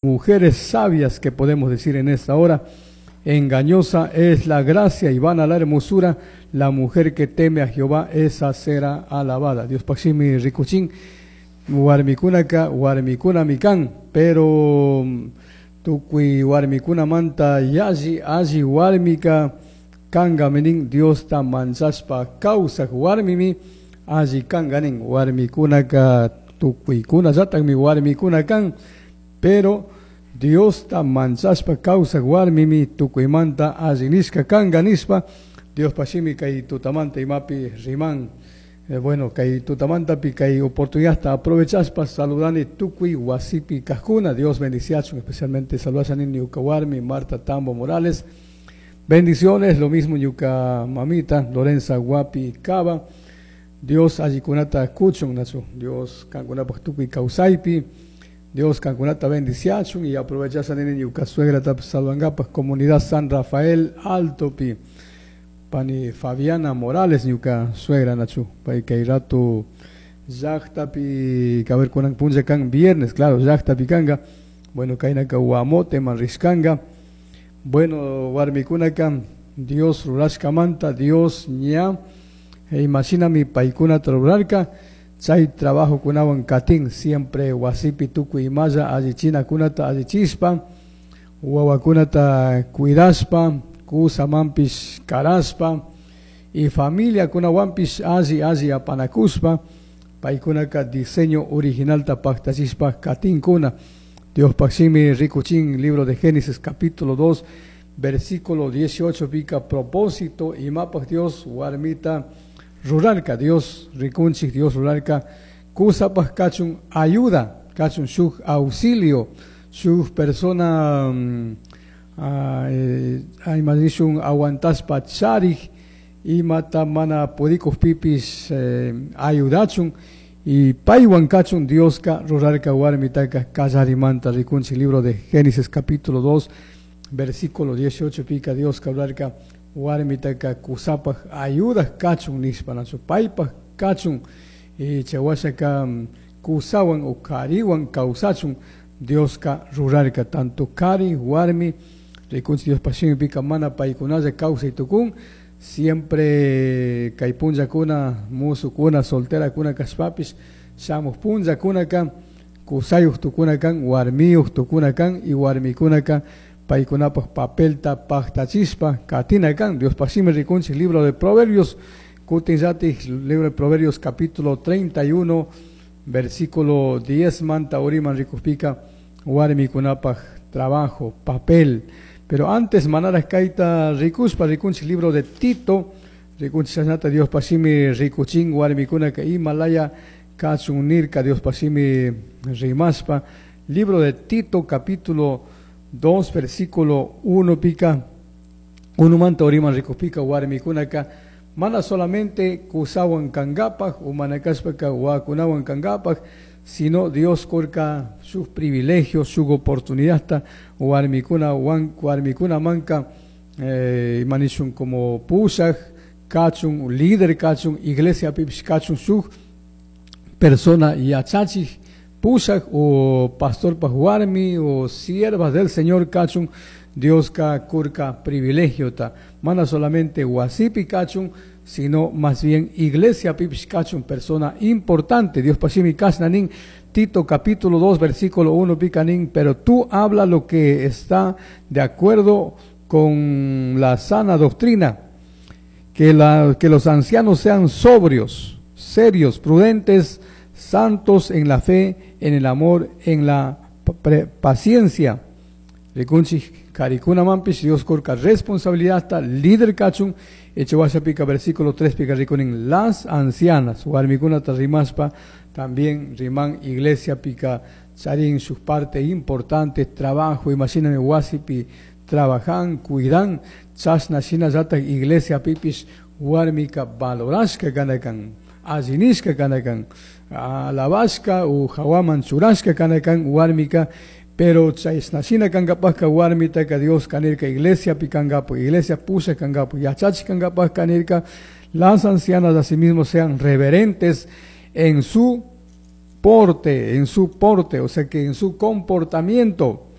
Mujeres sabias que podemos decir en esta hora, engañosa es la gracia y vana la hermosura, la mujer que teme a Jehová, esa será alabada. Dios pashimi rikuchin, warmikunaka warmikunami kan, pero tukuy warmikunamanta yalli alli warmika kangami nin, Diosta manchashpa kawsak warmimi alli kanga nin. Warmikunaka tukuykunallatakmi warmikuna kan, pero Diosta manchashpa kawsak warmimi tukuymanta alli nishka kanga nishpa, Dios pashimi kay tutamanta imapi riman. Bueno, kay tutamantapi kay oportunidad aprovechaspa saludani tukuy wasipi kajkuna. Dios bendiciachun, especialmente saludashani ñuka warmi Marta Tambo Morales. Bendiciones, lo mismo ñuka mamita Lorenza Guapi Cava. Dios allikunata kuchun, nachu. Dios kankunapaj tukuy kawsaypi. Dios kankunata bendiciachun y aprovechashani ñuka suegra tap saludangapaj comunidad San Rafael Altopi. Pani Fabiana Morales ñuka suegra nachu. Pay kay rato llaqtapi kaber kunan punlla kan viernes, claro, llaqtapi kanga. Bueno, kaynaka Guamote man rishkanga. Bueno, warmikunaka Dios rurashkamanta, Dios ña imashinami paykunata rurarka. Chay trabajo kunawan katin siempre wasipi tukuy imalla allichinakunata allichispa, wawakunata cuidaspa, kusamanpish karaspa y familia kunawanpish alli alli apanakuspa, paykunaka diseño originalta paktachispa katinkuna. Dios paximi rikuchin, libro de Génesis capítulo 2, versículo 18, pica propósito imapaj Dios warmita rurarka, Dios rikunchik, Dios rurarka, kusapaj kachun ayuda, kachun shuk auxilio, shuk persona, imanishun aguantaspa charik, imata mana pudikuj pipis, ayudachun, y paywan kachun Dioska rurarka warmitaka kallarimanta rikunchik, libro de Génesis capítulo 2, versículo 18, pica Dioska rurarka warmitaka kusapaj ayuda kachun nishpa, nachu paypaj kachun, y chawashaka kusawan o kariwan kawsachun Dioska rurarka, tanto kari warmi rikunchik Dios pashimi pica mana paykunalla kawsay tukun, siempre kay punllakuna musukuna solterakuna kashpapish shamuj punllakunaka kusayuj tukuna kan, warmiyuj tukuna kan y warmikunaka paykunapaj papelta paktachispa katina kan. Dios pashimi rikunchik libro de Proverbios, kutinllatik libro de Proverbios capítulo 31 versículo 10 manta uriman rikujpika warmikunapaj trabajo, papel. Pero antes manara kaita rikuspa rikunchik libro de Tito, rikunchik chashnata Dios pashimi rikuchin warmikunaka imalaya kachun nirka Dios pashimi rimaspa. Libro de Tito capítulo 2 versículo 1 pica, 1 manta uriman rikujpika warmikunaka mana solamente kusawan kangapaj o manakaspaka wakunawan kangapaj, sino Dios korka sus privilegios, su oportunidad, warmikuna wan, warmikuna manka, manishun como pushaj, kachun, líder kachun, iglesia pipish kachun, su persona yachachij, pushaj o pastor pa warmi o siervas del Señor kachun, Dios ka kurka privilegio ta, mana solamente wasipi kachun, sino más bien iglesia pipish kachun, persona importante. Dios pashimi kasnanin, Tito capítulo 2 versículo 1 picanín, pero tú habla lo que está de acuerdo con la sana doctrina, que los ancianos sean sobrios, serios, prudentes, santos en la fe, en el amor, en la paciencia. Rikunchik karikuna mampish, Dios korka responsabilidad, ta líder kachun, echewasha pica versículo 3 pica rikunin, las ancianas, warmikuna ta rimaspa, también riman iglesia pica charin sus partes importantes, trabajo, imagíname wasipi, trabajan, cuidan, chasna shina yata iglesia pipis, warmika valorashka kanakan, allinishka kanakan, alabashka u hawaman churashka kanakan, warmika, pero chasna kangapajka warmitaka Dios kanirka iglesia pikangapo, iglesia pusha kangapo, yachachi kangapaj kanirka, las ancianas asimismo sean reverentes en su porte, en su porte, o sea que en su comportamiento.